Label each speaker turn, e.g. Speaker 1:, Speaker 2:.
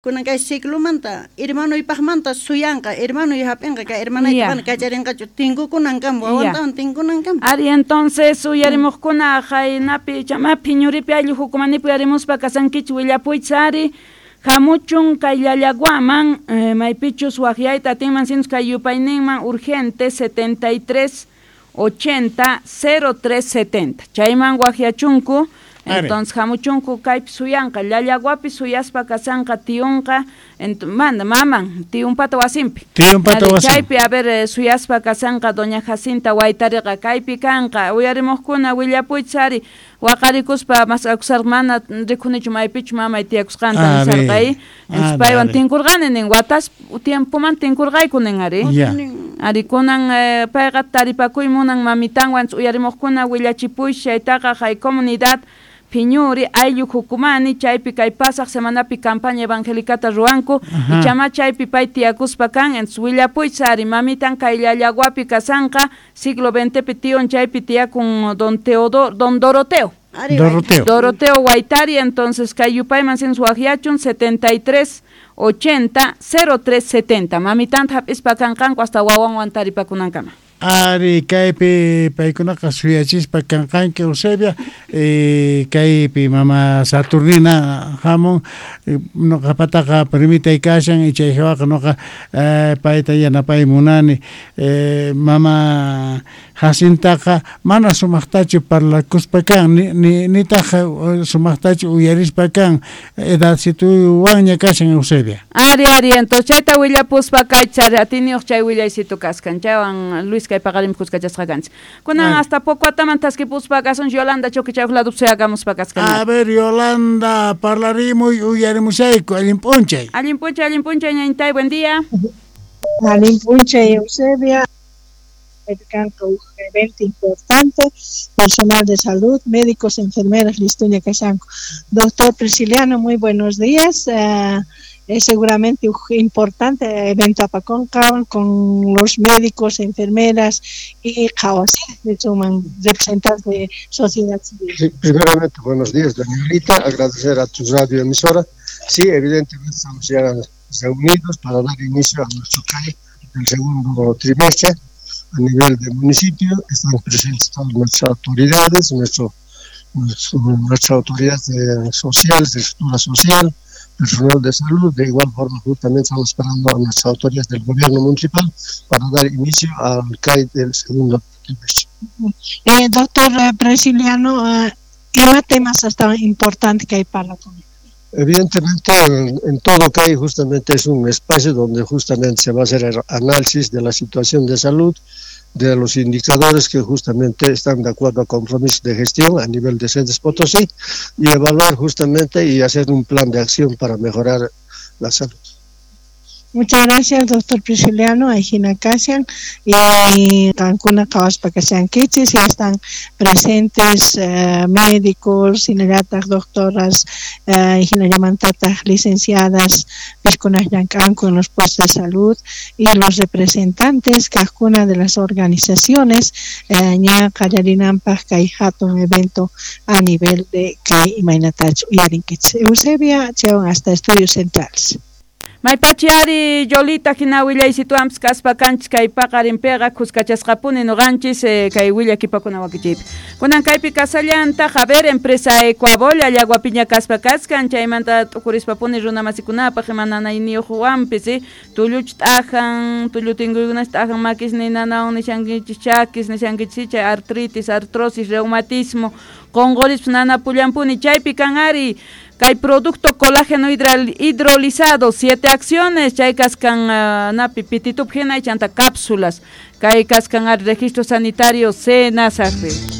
Speaker 1: Kunan kay ciclomanta hermanoypaqmanta suyanqa, hermanoy hap'inqa kay hermanayta mana kacharinqachu tinkukunankama, wawantawan tinkunankama.
Speaker 2: Ari, entonces uyarimuqkuna qaynapi chama Phiñuripi ayllu hukumanipi uyarimuspa kasankichik willapuychis ari hamuchun kay Llallaguaman maypichus waqyayta atinman sinus kay yupayninman urgente 73 80 03 70 chayman waqyachunku. Entonces hamuchunku kaypi suyanqa Llallaguapi suyaspa kasanqa tiyunqa mana maman tiyunpata wasinpi.
Speaker 3: Tiyunpata wasinpi.
Speaker 2: Chaypi a ver suyaspa kasanqa doña Jacinta Waytariqa kaypi kanqa uyarimuqkuna willapuychis ari waqarikuspa mas'akusarqa mana rikunichu maypichu mamay tiyakusqanta nisarqa entonces paywan tinkurqani nin watas tiempoman tinkurqayku nin ari. Ari kunan payqa taripakuy munan mamitanwan uyarimuqkuna willachipuychis chaytaqa hay comunidad Phiñuri ayllu hukumani chaypi kay pasaq semanapi campaña evangelicata ruwanku ichama chaypi pay tiyakuspa kan entonces willapuychis ari mamitan kay Llallaguapi kasanqa siglo XX tiyon chaypi tiyakun don Teodoro don Doroteo.
Speaker 3: Doroteo.
Speaker 2: Doroteo Waytari, entonces kay yupayman sinus waqyachun 73 80 03 70 mamitanta hap'ispa kanqanku hasta wawanwan taripakunankama.
Speaker 3: Ari kaypi paykunaqa suyachispa kanqanki Eusebia kaypi mama Saturnina hamun nuqapataqa permitay kashan chay hawaqa nuqa payta yanapay munani mama Jacintaqa mana sumaqtachu parlakuspa kan nitaq sumaqtachu uyarispa kan edadcituwanña kashan Eusebia.
Speaker 2: Ari ari entonces chayta willapuspa kaychari atiniyuq chay willaysitu kaskan chaywan Luis kay paqarin kuskachasqa kanchik. Kunan hasta poco ataman taskipuspa kasun Yolanda Choquichayuq lado suyakamuspa kaskan.
Speaker 3: A ver Yolanda parlarimuy uyarimushayku allin p'unchay.
Speaker 2: Allin p'unchay ñañitay, buen día.
Speaker 4: Allin p'unchay Eusebia. Un evento importante, personal de salud, médicos, enfermeras, listuña kashanku. Doctor Prisciliano, muy buenos días. Es seguramente un importante evento apaconca con los médicos, enfermeras y de suman representantes de sociedad civil.
Speaker 5: Sí, primeramente, buenos días, doña Lita, agradecer a tu radio emisora. Sí, evidentemente estamos ya reunidos para dar inicio a nuestro CAI del segundo trimestre. A nivel de municipio están presentes todas nuestras autoridades, nuestras autoridades sociales, de estructura social, personal de salud. De igual forma, justamente estamos esperando a nuestras autoridades del gobierno municipal para dar inicio al CAI del segundo trimestre.
Speaker 4: Doctor Prisciliano, ¿qué temas tan importantes que hay para la comunidad?
Speaker 5: Evidentemente, en todo CAI justamente es un espacio donde justamente se va a hacer el análisis de la situación de salud, de los indicadores que justamente están de acuerdo a compromisos de gestión a nivel de Cedes Potosí y evaluar justamente y hacer un plan de acción para mejorar la salud.
Speaker 4: Muchas gracias, doctor Prisciliano, Aijina Kasian y Cancuna Kawaspa Kasian Kichis, ya están presentes médicos, sinayatas, doctoras, Aijina Yamantatas, licenciadas, Piscunas Yancanco en los puestos de salud y los representantes, cada de las organizaciones, ña Kayarinampas, Kaijato, un evento a nivel de Kai y Mainatach, Uyarinquich. Eusebia, Cheon, hasta Estudios Centrales.
Speaker 2: Maypachiari Yolita hina willaysituanpis kaspa kanchis kay paqarinpiqa kuskachasqapuni nuqanchis kay willakipakuna wakichiypi. Kunan kaypi kasallantaq, a ver, empresa Ecuabol Llallaguapiña kaspa kaskan chaymanta t'ukurispapuni runa masikunapaq ima nanayniyuqwanpis tulluch t'ajan, tullu tinkuykunash t'ajan makis ninanawan nishankichis chakis nishankichis chay artritis, artrosis, reumatismo, qunqurispas nanapullanpuni chaypi kan ari kay producto colágeno hidrolizado, 7 acciones, chay kaskan napi pititup hina chanta cápsulas, kay kaskan ari registro sanitario SENASAGPI.